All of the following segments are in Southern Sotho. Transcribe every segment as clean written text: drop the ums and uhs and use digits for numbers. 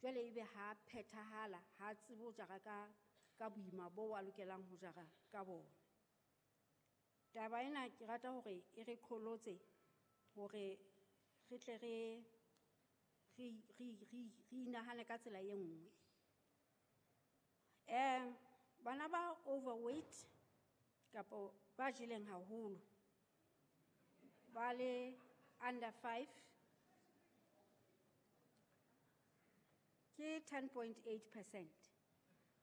Jwale ebe ha phethahala, ha tsebe ho jara ka boima bo a lokelang ho jara ka bona. Taba ena ke rata hore e re qholotse hore re tle re inahane ka tsela e nngwe. Bana ba overweight kapo ba jeleng haholo ba le under 5 ke 10.8%.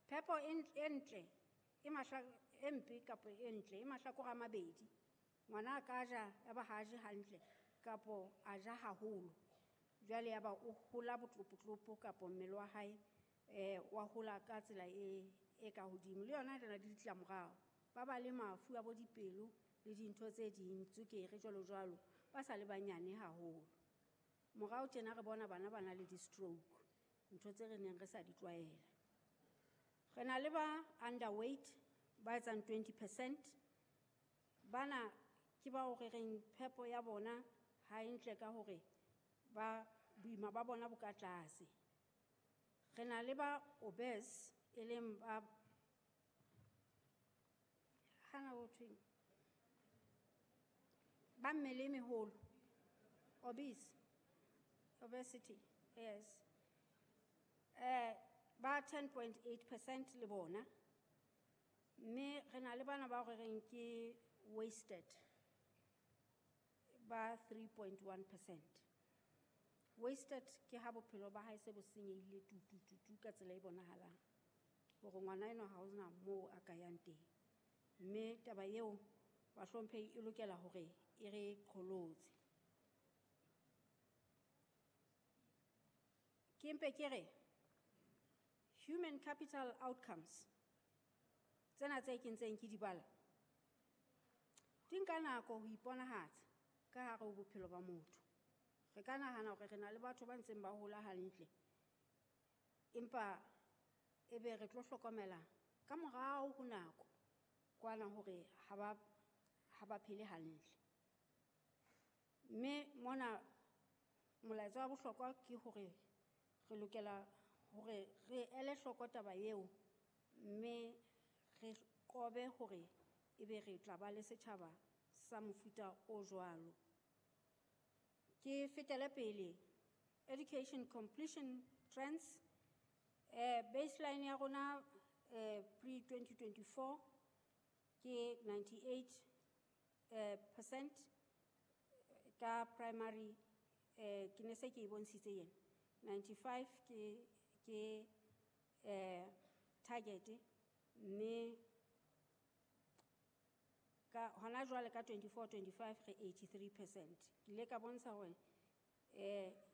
Phepo e ntle e mahla, e mpe kapo e ntle e mahlakore a mabedi. Ngwana a ka ja ya ba ha a je hantle kapo a ja haholo. Jwale ya ba o hola botlopotlopo kapo mmele wa hae wa hola ka tsela e ka hodimo. Le yona e na le ditlamorao. Ba ba le mafu a bo dipelo le dintho tse ding, tswekere jwalo jwalo, ba sa le banyane haholo. Morao tjena re bona bana ba na le di-stroke, ntho tse re neng re sa di tlwaela. Re na le ba underweight ba etsang 20%. Bana ke bao re reng phepo ya bona ha e ntle ka hore ba boima ba bona bo ka tlase. Re na le ba obese e leng ba hana ho thweng ba mmele e meholo, obese, obesity, yes. Ba 10.8% le bona. Mme re na le bana ba re reng ke wasted ba 3.1%. Wasted ke ha bophelo ba hae se bo senyehile tu, tu, tu, tu ka tsela e bonahalang hore ngwana enwa ha hona moo a ka yang teng. Mme taba eo bahlomphehi e lokela hore e re qholotse. Ke mpe ke re human capital outcomes tsena tse ke ntseng ke di bala di nka nako ho iponahatsa ka hare ho bophelo ba motho. Re ka nahana hore re na le batho ba ntseng ba hola hantle, empa ebe re tlo hlokomela ka morao ho nako kwana hore ha ba phele hantle. Mme mona molaetsa wa bohlokwa ke hore re lokela hore re ele hloko taba eo, mme re qobe hore ebe re tla ba le setjhaba sa mofuta o jwalo. Ke fetele pele, education completion trends, baseline ya rona pre-2024 ke 98 percent ka primary, ke ne se ke e bontshitse yena. 95 ke target, mme ka hona jwale ka 24-25 re 83%. Ke ile ka bontsha hore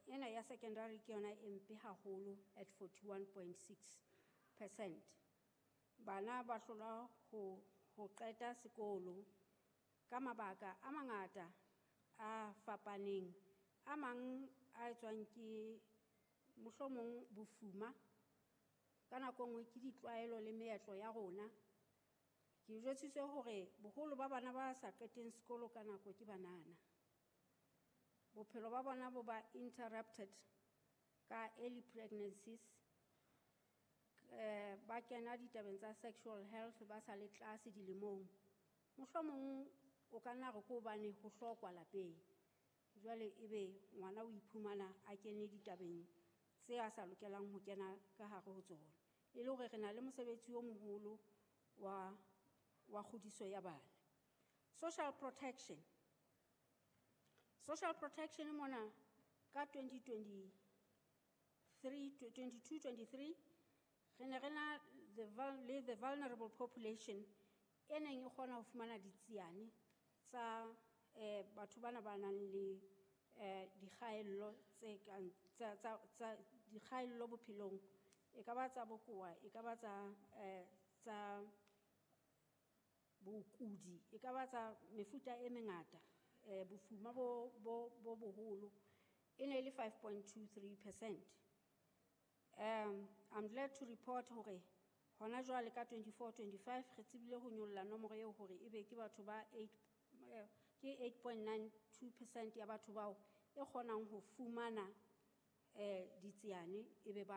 ena ya secondary ke yona e mpe haholo at 41.6%. Bana ba hlolwa ho qeta sekolo ka mabaka a mangata a fapaneng, a mang a etswang ke mohlomong bofuma, ka nako nngwe ke ditlwaelo le meetlo ya rona. Ke jwetsitswe hore boholo ba bana ba sa qeteng sekolo ka nako ke banana. Bophelo ba bona bo ba interrupted ka early pregnancies, ba kena ditabeng tsa sexual health ba sa le tlase dilemong. Mohlomong o ka nna re ke hobane ho hlokwa lapeng. Jwale ebe ngwana o iphumana a kene ditabeng tse a sa lokelang ho kena ka hare ho tsona. E le hore re na le mosebetsi o moholo wa kgodiso ya bana. Social protection. Social protection mona ka twenty twenty-three, twenty-two, twenty-three, re ne re na le the vulnerable population e neng e kgona ho fumana ditsiane tsa batho bana ba nang le dikgaello tse kang tsa, tsa, tsa dikgaello bophelong, e ka ba tsa bokowa, e ka ba tsa bokudi, e ka ba tsa mefuta e mengata, bofuma bo boholo, e ne e le 5.23%. I'm glad to report hore hona jwale ka 24-25 re tsebile ho nyolla nomoro eo hore ebe ke batho ba eight, ke 8.92% ya batho bao e kgonang ho fumana ditsiane ebe ba